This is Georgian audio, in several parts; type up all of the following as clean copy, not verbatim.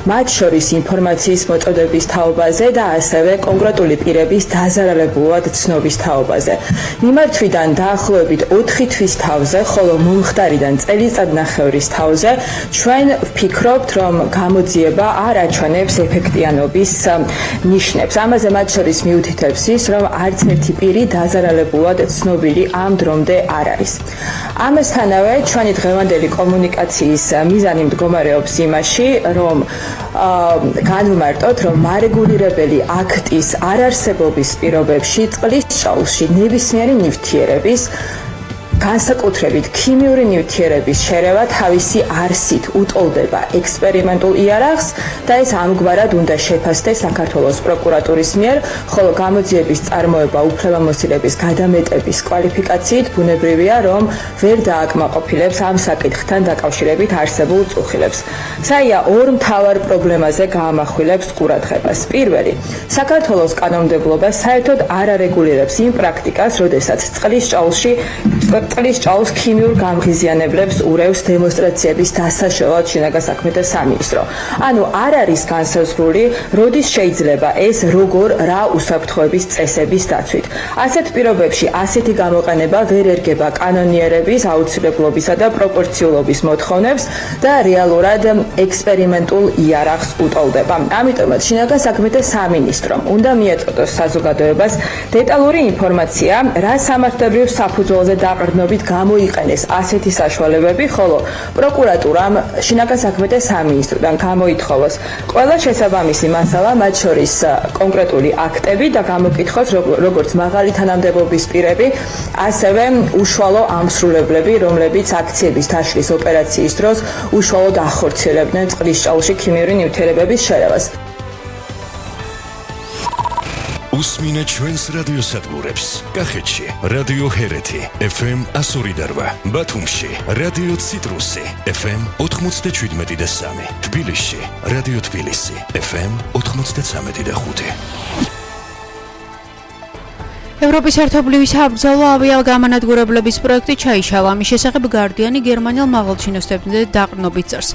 მათ შორის ინფორმაციის მოწოდების თაობაზე და ასევე კონკრეტული პირების დაზარალებულად ცნობის თაობაზე. მიმართვიდან დაახლოებით 4 თვის თავზე, ხოლო მომხდარიდან წელიწადნახევრის თავზე ჩვენ ვფიქრობთ, რომ გამოძიება არ აჩვენებს ეფექტიანობის ნიშნებს. ამაზე მათ შორის მიუთითებს ის, რომ არც ერთი პირი დაზარალებულად ცნობილი ამ დრომდე არ არის. ამასთანავე ჩვენი დღევანდელი კომუნიკაციის მიზანი მდგომარეობს იმაში, რომ განვმარტოთ, რომ მარეგულირებელი აქტის არარსებობის პირობებში წყლის ჭაულში ნებისმიერი ნივთიერების განსაკუთრებით ქიმიური ნივთიერების შერევა თავისი არსით უტოლდება ექსპერიმენტულ იარაღს და ეს ამგვარად უნდა შეფასდეს საქართველოს პროკურატურის მიერ, ხოლო გამოძიების წარმოება უფლებამოსილების გადამეტების კვალიფიკაციით ბუნებრივია, რომ ვერ დააკმაყოფილებს ამ საკითხთან დაკავშირებით არსებულ წუხილებს. საია ორ მთავარ პრობლემაზე გაამახვილებს ყურადღებას. პირველი, საქართველოს კანონმდებლობა საერთოდ არ არეგულირებს იმ პრაქტიკას, როდესაც წყლის ჭაულს ქიმიურ გამღიზიანებლებს ურევს დემონსტრაციების დასაშველად შინაგან საქმეთა სამინისტრო. ანუ არ არის განსაზღვრული, როდის შეიძლება ეს როგორ რა უსაფრთხოების წესების დაცვით. ასეთ პირობებში ასეთი გამოყენება ვერ ერგება კანონიერების აუცილებლობისა და პროპორციულობის მოთხოვნებს და რეალურად ექსპერიმენტულ იარაღს უტოლდება. ამიტომაც შინაგან საქმეთა სამინისტრომ უნდა მიეწოდოს საზოგადოებას დეტალური ინფორმაცია, რა სამართლებრივ საფუძველზე დაყრდნობით გამოიყენეს ასეთი საშუალებები, ხოლო პროკურატურამ შინაგან საქმეთა სამინისტროდან გამოითხოვოს ყველა შესაბამისი მასალა, მათ შორის კონკრეტული აქტები და გამოკითხოს როგორც მაღალი თანამდებობის პირები, ასევე უშუალო ამსრულებლები, რომლებიც აქციების დაშლის ოპერაციის დროს უშუალოდ ახორციელებდნენ წყლის ჭაულში ქიმიური ნივთიერებების შერევას. უსმინეთ ჩვენს რადიოსადგურებს. კახეთში რადიო ჰერეთი FM 102.8, ბათუმში რადიო ციტრუსი FM 97.3, თბილისში რადიო თბილისი FM 93.5. ევროპის ერთობლივი საბრძოლო ავიაგამანადგურებლების პროექტი ჩაიშალა. ამის შესახებ გარდიანი გერმანელ მაღალჩინოსნებზე დაყრდნობით წერს.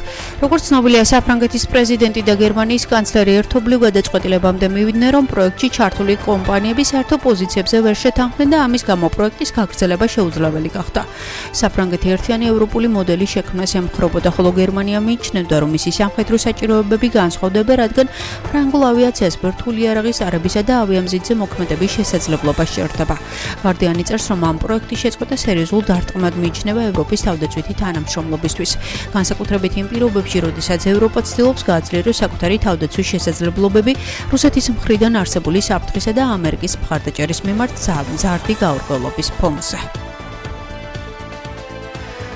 როგორც ცნობილია, საფრანგეთის პრეზიდენტი და გერმანიის კანცლერი ერთობლივ გადაწყვეტილებამდე მივიდნენ, რომ პროექტში ჩართული კომპანიები საერთო პოზიციებზე ვერ შეთანხმდნენ და ამის გამო პროექტის გაგრძელება შეუძლებელი გახდა. საფრანგეთი ერთიანი ევროპული მოდელი შექმნას ემხრობოდა, ხოლო გერმანია მიიჩნევდა, რომ მისი სამხედრო საჭიროებები განსხვავდება, რადგან ფრანგულ ავიაციას ბირთვული იარაღის არებისა და ავიამზიდზე მოქმედების შესაძლებლობა შეერთება. გარდიანი წერს, რომ ამ პროექტის შეწყვეტა სერიოზულ დარტყმად მიიჩნევა ევროპის თავდაცვითი თანამშრომლობისთვის. განსაკუთრებით იმ პირობებში, როდესაც ევროპა ცდილობს გააძლიეროს საკუთარი თავდაცვის შესაძლებლობები რუსეთის მხრიდან არსებული საფრთხისა და ამერიკის მხარდაჭერის მიმართ ზარდი გაურკვევლობის ფონზე.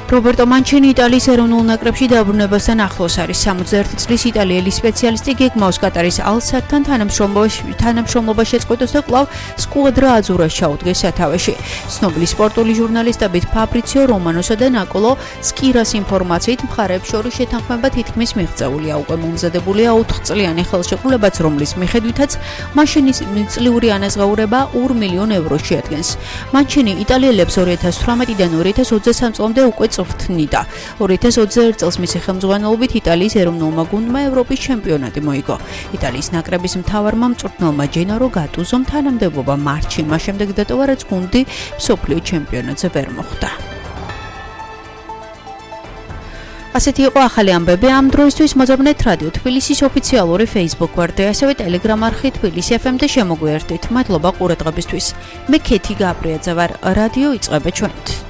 რობერტო მანჩინი იტალიის ეროვნულ ნაკრებში დაბრუნებასთან ახლოს არის. 61 წლის იტალიელი სპეციალისტი გეგმავს კატარის ალ-სადთან თანამშრომლობა შეწყვეტოს და კვლავ სკუადრა აზურას ჩაუდგეს სათავეში. ცნობილი სპორტული ჟურნალისტებით ფაბრიციო რომანოსა და ნიკოლო სკირას ინფორმაციით მხარეებს შორის შეთანხმება თითქმის მიღწეულია. უკვე მომზადებულია 4 წლიანი ხელშეკრულებაც, რომლის მიხედვითაც მანჩინის წლიური ანაზღაურება 2 მილიონ ევროს შეადგენს. მანჩინი იტალიელებს 2018-დან 2023 წლამდე უკვე წვრთნიდა. 2021 წელს მისი ხელმძღვანელობით იტალიის ეროვნულმა გუნდმა ევროპის ჩემპიონატი მოიგო. იტალიის ნაკრების მთავარმა მწვრთნელმა ჯენარო გატუზომ თანამდებობა მარტში, მას შემდეგ დატოვა, რაც გუნდი მსოფლიო ჩემპიონატზე ვერ მოხვდა. ასეთი იყო ახალი ამბები ამ დროისთვის. მოძებნეთ რადიო თბილისის ოფიციალური Facebook გვერდი, ასევე Telegram არხი თბილისი FM და შემოგვიერთდით. მადლობა ყურადღებისთვის. მე ქეთი გაბრიაძე ვარ. რადიო იწყება ჩვენით.